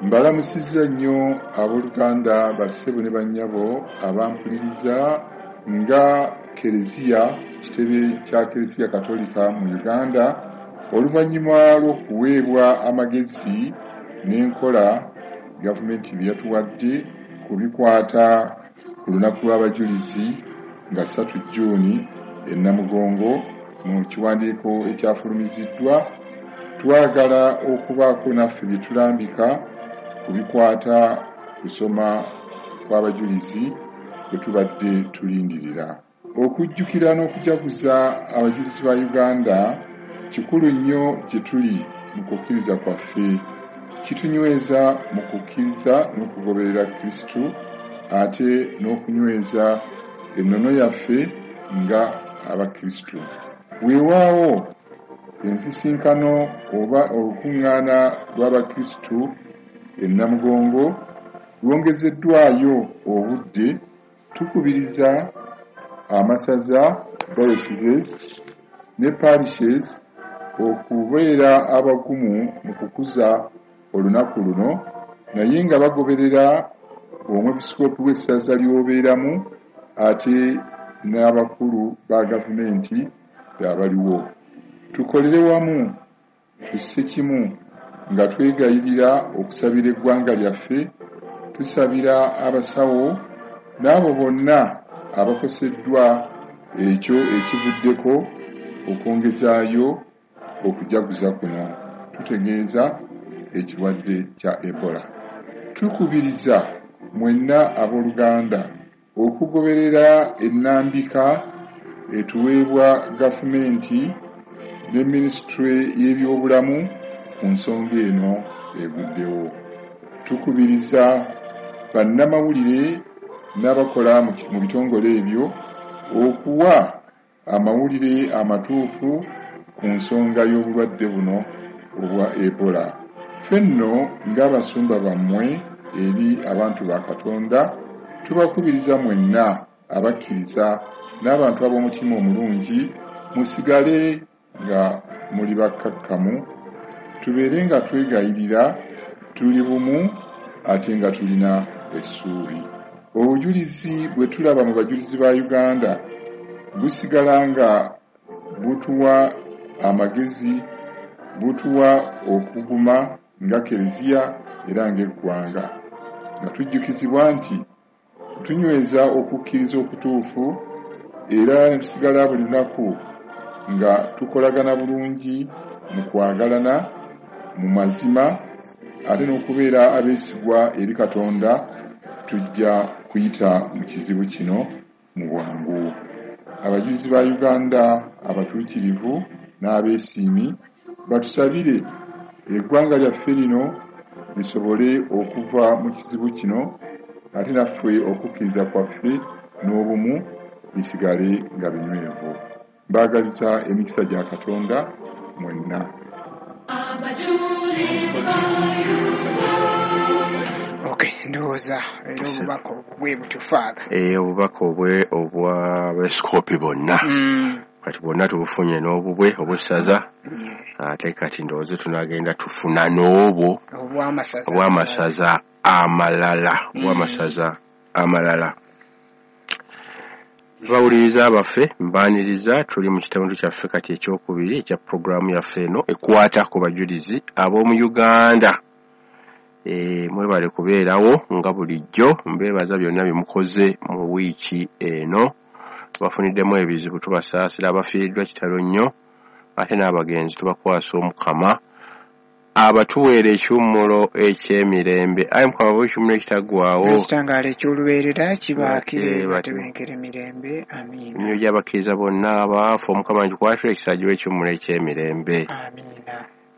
Mbalamusizza nnyo abooluganda, bassebo ne bannyabo abampuliriza. Nga Kereziya, kitebe kya Kereziya Katolika mu Uganda, oluvannyuma lw'okuweebwa amagezi n'enkola gavumenti bye yatuwadde ku bikwata ku lunaku lw'abajulizi nga 3 Jjuuni e Namugongo, mu kiwandiiko ekyafulumiziddwa, twagala okubaako naffe bye tulambika ku bikwata kusoma kw'abajulizi bwe tubadde tulindirira. Okujjukira n'okujaguza abajulizi ba Uganda kikulu nnyo gye tuli mu kukkiriza kwaffe. Kitunyweza mu kukkiriza n'okugoberera Kristo, ate n'okunyweza ennono yaffe nga Abakristo. Weewaawo ensisinkano oba olukuŋŋaana lw'Abakristo e Namugongo lwongezeddwayo obudde, tukubiriza amasaza, dioceses ne parishes okubeera abagumu mu kukuza olunaku luno, naye nga bagoberera omwepisikoopi w'essaza ly'obeeramu ate n'abakulu ba gavumenti abaliwo. Tukolere wamu, tusse kimu nga twegayirira okusabira eggwanga lyaffe, tusabira abasawo n'abo bonna abakoseddwa ekyo ekivuddeko okwongezaayo okujaguza kuno, tutegeeza ekirwadde kya Ebola. Tukubiriza mwenna abooluganda okugoberera ennambika etuweebwa gavumenti ne minisitule y'ebyobulamu ku nsonga eno eguddewo. Tukubiriza bannamawulire n'abakola mu bitongole ebyo okuwa amawulire amatuufu ku nsonga y'obulwadde buno obwa Ebola. Ffe nno ng'abasumba bammwe eri abantu ba Katonda, tubakubiriza mwenna abakkiriza n'abantu ab'omutima omulungi musigale nga muli bakkakkamu, tubeere nga twegayirira, tuli bumu ate nga tulina essuubi. Obujulizi bwe tulaba mu bajulizi ba Uganda busigala nga butuwa amagezi, butuwa okuguma nga Kereziya era ng'eggwanga, nga tujjukizibwa nti tunyweza okukkiriza okutuufu era ne tusigala buli lunaku nga tukolagana bulungi mu kwagalana mu mazima ate n'okubeera abeesigwa eri Katonda, tujja kuyita mu kizibu kino mu bwangu. Abajulizi ba Uganda abatuukirivu n'abeesiimi batusabire eggwanga lyaffe lino lisobole okuva mu kizibu kino, ate naffe okukkiriza kwaffe n'obumu bisigale nga binywevu. Mbaagaliza emikisa gya Katonda mwenna. Okay, ndowooza era obubaka obwo bwe butyo, Father. Obubaka obwe obw'abeepisikoopi bonna kati bwonna tubufunye, n'obubwe obw'essaza, ate kati ndowooza tunagenda tufuna n'obwo obw'amasaza, obw'amasaza amalala, obw'amasaza amalala. Bawuliriza baffe, mbaaniriza. Tuli mu kitundu kyaffe kati ekyokubiri ekya puroguraamu yaffe eno ekwata ku bajulizi ab'omu Uganda. Mwebale kubeerawo nga bulijjo. Mbeebaza byonna bye mukoze mu wiiki eno. Tubafuniddemu ebizibu, tubasaasira. Abafiiriddwa, kitalo nnyo, ate n'abagenzi tubakwasa Omukama abatuweera ekiwummulo eky'emirembe. Ayi Mukama, bawe ekiwummulo ekitaggwaawo, ekitangaala eky'olubeerera kibaakire, batebenkere mirembe. Amiina. Emyoyo gy'abakkiriza bonna abaafa, Omukama ngikwatira ekisa, agiwe ekiwummulo eky'emirembe. Amiina.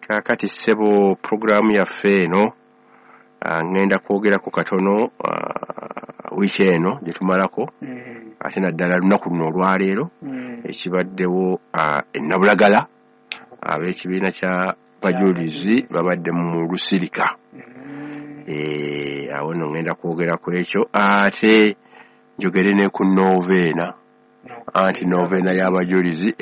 Kaakati ssebo, puroguraamu yaffe eno, ŋŋenda kwogerako katono wiiki eno gye tumalako, ate naddala lunaku luno olwaleero, ekibaddewo e Nabulagala. Ab'ekibiina kya bajulizi babadde mu lusirika. Awo nno ŋŋenda kwogera ku ekyo, ate njogere ne ku noveena, anti noveena y'abajulizi.